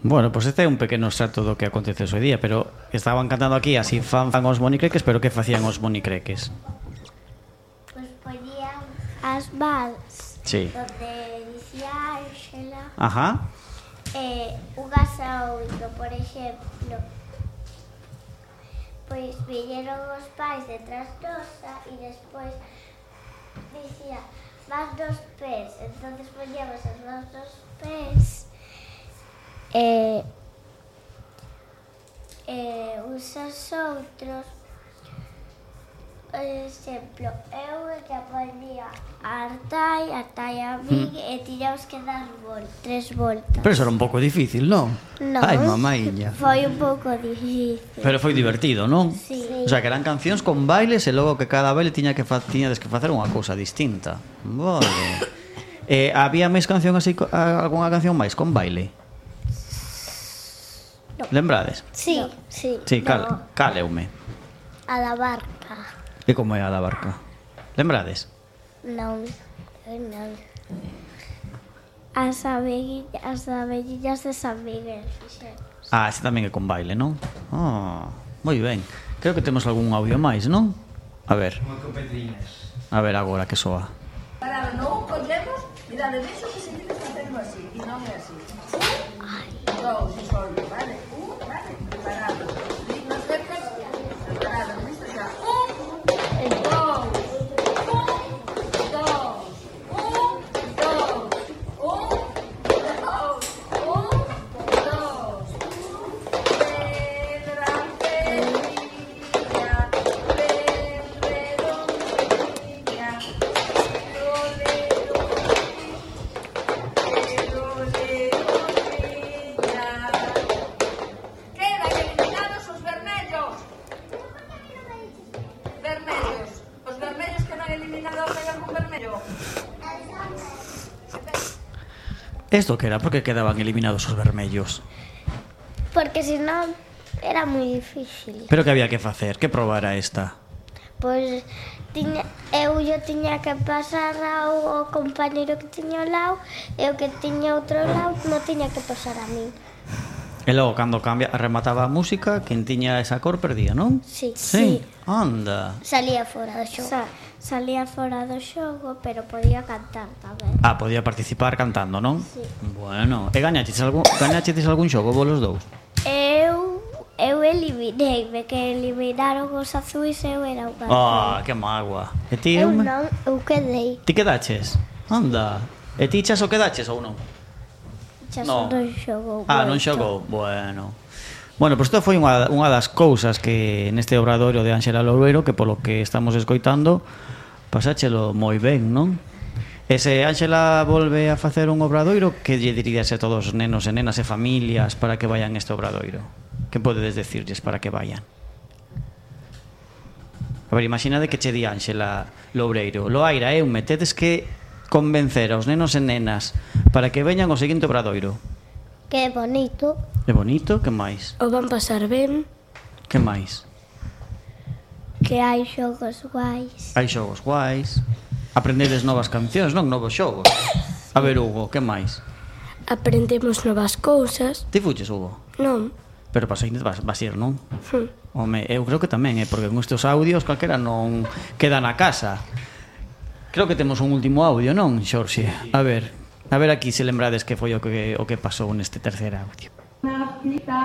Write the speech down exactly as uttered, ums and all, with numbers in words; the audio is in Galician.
Bueno, pois este é un pequeno extracto do que acontece hoxe día, pero estaban cantando aquí así fan fan os monicreques, pero que facían os monicreques? Pois poñían as vals Sí. donde dicía Ángela Ajá. e un gasaoito, por exemplo. Pois viñeron os pais detrás nosa e despois dicía vas dos pés, entonces poñíamos as mans dos pés e, e uns aos outros. Por exemplo, eu que poñía a Artai, a Artai a min mm. e tiñamos que dar vol tres voltas. Pero eso era un pouco difícil, non? Non. Ai, mamaiña. Foi un pouco difícil. Pero foi divertido, non? Sí. O sea, que eran cancións con bailes e logo que cada baile tiña que fa tiñades que facer unha cousa distinta. Vale. Eh, había máis canción así, algunha canción máis con baile? No. Lembrades? Sí, no. sí. Sí, cal, no. caleume. A da barca. E como é a da barca? Lembrades? Non, non. As abelliñas, as abelliñas de San Miguel, fixemos. Ah, ese tamén é con baile, non? Ah, moi ben. Creo que temos algún audio máis, non? A ver. A ver agora que soa. Para non collemos, mirade, vexo que se tienes facendo así, e non é así. Un, dous, e solve, vale? Un, vale, preparado. Dignos cercas, preparado, listo xa. Un, dous, un, dous, un, dous, un, dous, un, dous. Pedra, pedrilla, ven redondilla, lole, quedan eliminados os vermellos. Vermellos. Os vermellos quedan eliminados. Hai algún vermello? Esto que era? Por que quedaban eliminados os vermellos? Porque senón era moi difícil. Pero que había que facer? Que proba era esta? Pois tiña, eu yo tiña que pasar ao, ao compañeiro que tiña ao lado e o que tiña outro lado non tiña que pasar a min. E logo, cando cambia, remataba a música, quen tiña esa cor perdía, non? Sí. Sí. Anda. Salía fora do xogo. Sa, salía fora do xogo, pero podía cantar tamén. Ah, podía participar cantando, non? Sí. Bueno, e gañachedes algún, gañachedes algún xogo vos los dous? Eu eu eliminei-me, que eliminaron os azuis e eu era o campeón. Ah, que mágoa. E ti? Eu Eume? non, eu quedei. Ti quedaches? Anda. E ti chas o quedaches ou non? Xa No. non xogou. Ah, non moito. xogou. Bueno. Bueno, pois isto foi unha, unha das cousas que neste obradoiro de Ángela Loureiro, que polo que estamos escoitando, pasáchelo moi ben, non? E se Ángela volve a facer un obradoiro, que lle dirías a todos os nenos e nenas e familias para que vayan a este obradoiro? Que podedes decirlles para que vayan? A ver, imaginade que che di Ángela Loureiro: Loaira, Eume, tedes que convencer aos nenos e nenas para que veñan ao seguinte obradoiro. Que bonito. É bonito, que máis? O van pasar ben. Que máis? Que hai xogos guais. Hai xogos guais. Aprendedes novas cancións, non? Novos xogos. A ver, Hugo, que máis? Aprendemos novas cousas. Ti fuches, Hugo? Non. Pero para seguinte vas, vas ir, non? Hm. Home, eu creo que tamén, eh? Porque con estes audios calquera non queda na casa. Creo que temos un último audio, non, Xorxe? A ver, a ver aquí se lembrades que foi o que, o que pasou neste terceiro audio. Unha cita